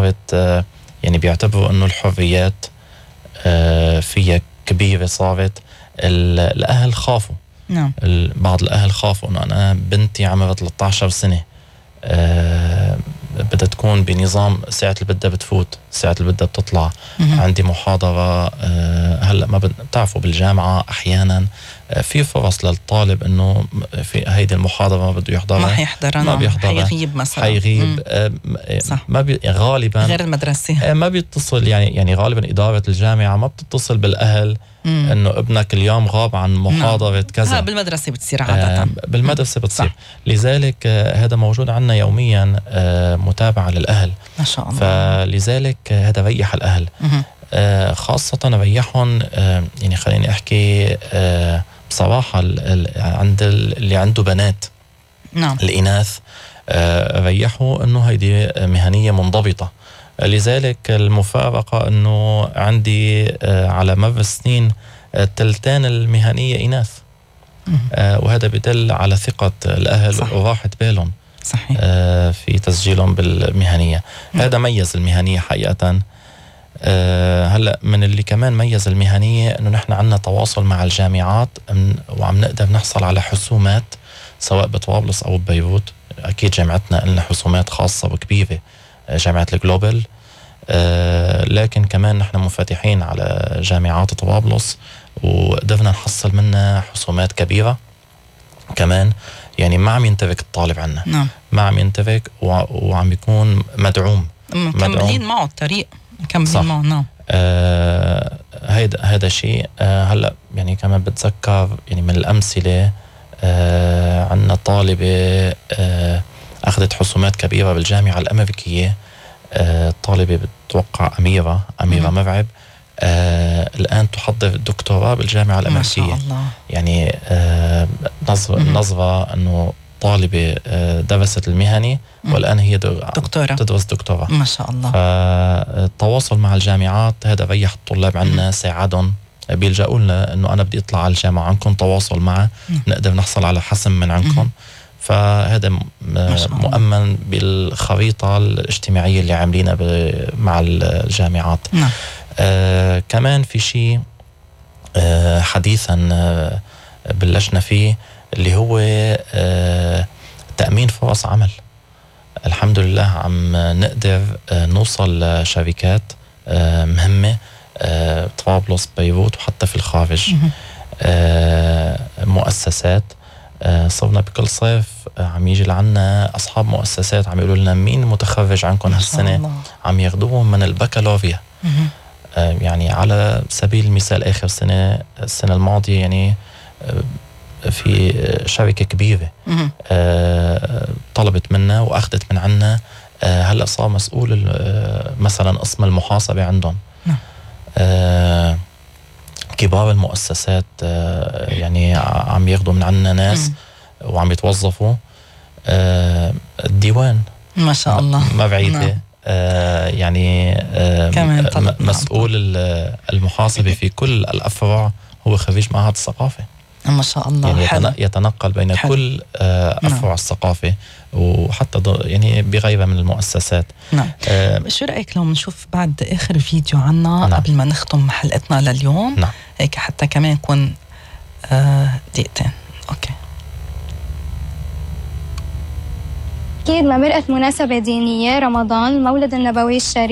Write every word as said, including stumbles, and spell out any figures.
صارت آه يعني بيعتبروا إنه الحريات آه فيها كبيرة صارت. الأهل خافوا. نعم. بعض الأهل خافوا إنه أنا بنتي عمرها ثلاثة عشر سنة آه بدها تكون بنظام ساعة اللي بدها بتفوت، ساعة اللي بدها بتطلع. مم. عندي محاضرة آه هلأ ما بتعرفوا بالجامعة أحيانا آه في فرص للطالب إنه في هيدي المحاضرة ما بده يحضرها، ما حيحضرها، ما بيحضرها، حيغيب مثلا، حيغيب آه ما بي غالبا غير المدرسة آه ما بيتصل يعني يعني غالبا إدارة الجامعة ما بتتصل بالأهل مم. إنه ابنك اليوم غاب عن محاضرة نعم. كذا. ها بالمدرسة بتصير عادة. آه بالمدرسة بتصير. صح. لذلك آه هذا موجود عندنا يوميا آه متابعة للأهل ما شاء الله. فلذلك آه هذا ريح الأهل آه خاصة ريحهم آه يعني خليني أحكي آه بصراحة عند اللي عنده بنات. نعم. الإناث آه ريحوا إنه هيدي مهنية منضبطة. لذلك المفارقة إنه عندي آه على مر السنين التلتان المهنية إناث آه وهذا بدل على ثقة الأهل. صح. وراحة بالهم. صحيح. آه في تسجيلهم بالمهنية. م. هذا ميز المهنية حقيقة. آه هلأ من اللي كمان ميز المهنية إنه نحن عنا تواصل مع الجامعات وعم نقدر نحصل على حسومات سواء بطرابلس أو ببيروت. أكيد جامعتنا لنا حسومات خاصة وكبيرة جامعة الجلوبال آه لكن كمان نحن منفتحين على جامعات طرابلس وقدرنا نحصل منها حسومات كبيرة كمان. يعني ما عم ينترك الطالب عنا. نعم. ما عم ينترك وعم يكون مدعوم. مكملين معه الطريق. مكملين معه. نعم. آه هيدا هذا شيء. آه هلا يعني كمان بتذكر يعني من الأمثلة آه عنا طالبة آه أخذت حسومات كبيرة بالجامعة الأمريكية. آه طالبة بتوقع أميرة أميرة م- مرعب آه الآن تحضر الدكتوراه بالجامعة الأمريكية. ما شاء الله. يعني آه نظرة نظرة أنه طالبة آه درست المهني والآن هي دكتورة تدرس دكتوراه. ما شاء الله. فالتواصل مع الجامعات هذا ريح الطلاب عنا ساعدهم بيلجأوا لنا أنه أنا بدي أطلع على الجامعة عندكم تواصل معه نقدر نحصل على حسم من عندكم. فهذا مؤمن بالخريطة الاجتماعية اللي عاملينها مع الجامعات. نعم. آه كمان في شيء آه حديثا آه بلشنا فيه اللي هو آه تأمين فرص عمل. الحمد لله عم نقدر آه نوصل لشركات آه مهمة آه طرابلس بيروت وحتى في الخارج. آه مؤسسات آه صرنا بكل صيف آه عم يجي لعنا أصحاب مؤسسات عم يقولوا لنا مين متخرج عنكم هالسنة عم ياخدوهم من البكالوريا. آه يعني على سبيل المثال آخر سنة السنة الماضية يعني آه في شركة كبيرة آه طلبت منا وأخذت من عنا آه هلأ صار مسؤول آه مثلا قسم المحاسبة عندهم. آه كبار المؤسسات آه يعني عم ياخدوا من عنا ناس م. وعم يتوظفوا. آه الديوان ما شاء الله ما بعيدة. آه يعني آه مسؤول المحاسبة في كل الأفرع هو خريج معهد الثقافة. ما شاء الله. يعني حلو. يتنقل بين حلو. كل آه أفرع نعم. الثقافة وحتى يعني بغيرها من المؤسسات. نعم. آه شو رأيك لو نشوف بعد آخر فيديو عنا نعم. قبل ما نختم حلقتنا لليوم. نعم. هيك حتى كمان يكون آه دقيقتين. أوكي. أكيد ما مرقت مناسبة دينية رمضان المولد النبوي الشريف.